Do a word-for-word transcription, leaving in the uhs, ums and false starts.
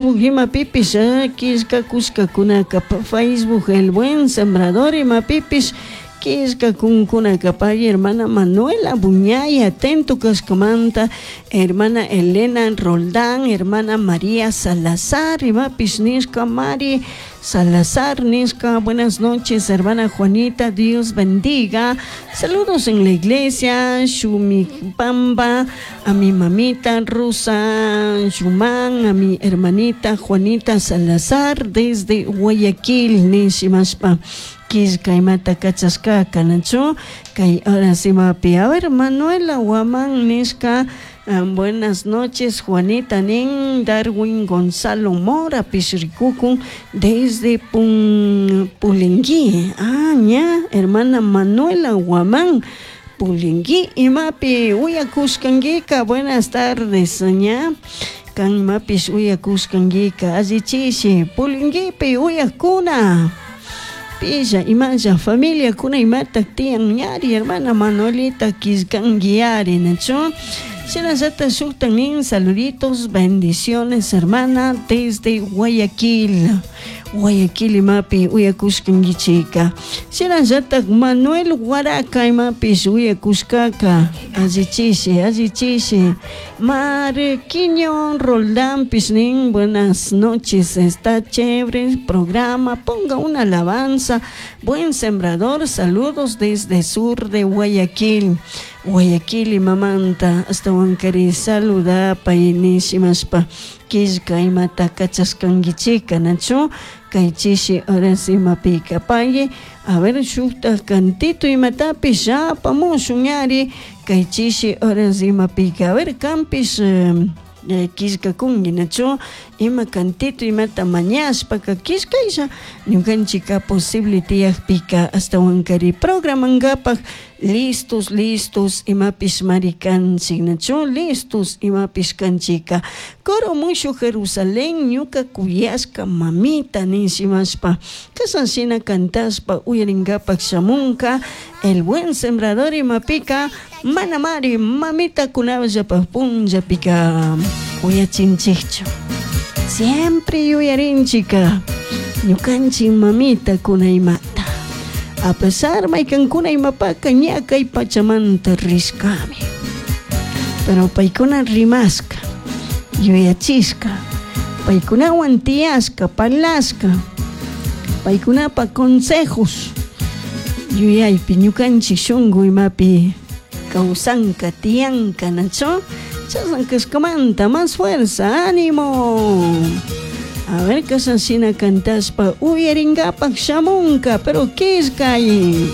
Imapipish killkakushkakunaka Facebook El Buen Sembrador imapipish killkakunkunaka pay hermana Manuela Buñay atento kashkamanta, hermana Elena Roldán, hermana María Salazar imapish nishka Mari Salazar nishka. Buenas noches, hermana Juanita, Dios bendiga. Saludos en la iglesia Shumipamba, a mi mamita Rosa Shumán, a mi hermanita Juanita Salazar desde Guayaquil nishimashpa killka imata kachashkaka nachu kay horas imapi. A ver, Manuela Guamán nishka, buenas noches, Juanita nin. Darwin Gonzalo Mora pishrikukun desde Pun Pulingui. Ah, ña, hermana Manuela Guamán Pulingui imapi uyakushkankika. Buenas tardes, ña kan imapish uyakushkankika, allichishi Pulinguipi uyakuna pilla imalla familiakuna imata tiyan ñari hermana Manuelita killkanki nachu. Shinallata shukta nin, saluditos, bendiciones, hermana, desde Guayaquil. Guayaquil imapi uyakushkankichika. Shinallata Manuel Guaraca imapish uyakushkaka, allichishi, allichishi. Marquiño Roldán nin, buenas noches, está chévere el programa, ponga una alabanza, Buen Sembrador, saludos desde sur de Guayaquil. Guayaquil imamanta ashtawankari saludapay nishimashpa killka imata kachashkankichika nachu kay chishi horas imapika pay. A ver, shukta cantito imatapish apamushun ñari kay chishi horas imapika. A ver, kampish killkakunki nachu ima cantito imata mañashpaka killkaylla ñukanchika posible tiyakpika ashtawankari programankapak listos, listos imapish mari kanchik nachu listos imapish kanchika. Coro Mushuj Jerusalén, ñuka kuyashka mamita nishimashpa kashan shina cantashpa uyarinkapak shamunka El Buen Sembrador imapika. Mana mari mamita kunallapa punllapika uyachinchikchu, siempre yuyarinchika ñukanchik mamita kuna imata a pesar maykankuna imapaka ña kay pachamanta rishkami, pero paykuna rimashka yuyachishka paykunawan tiyashka parlashka paykunapa consejos yuyaypi ñukanchik shunku imapi kawsanka tiyanka nachu chashna kashkamanta más fuerza, ánimo. A ver, kashan shina cantashpa uyarinkapak shamunka, pero killkay.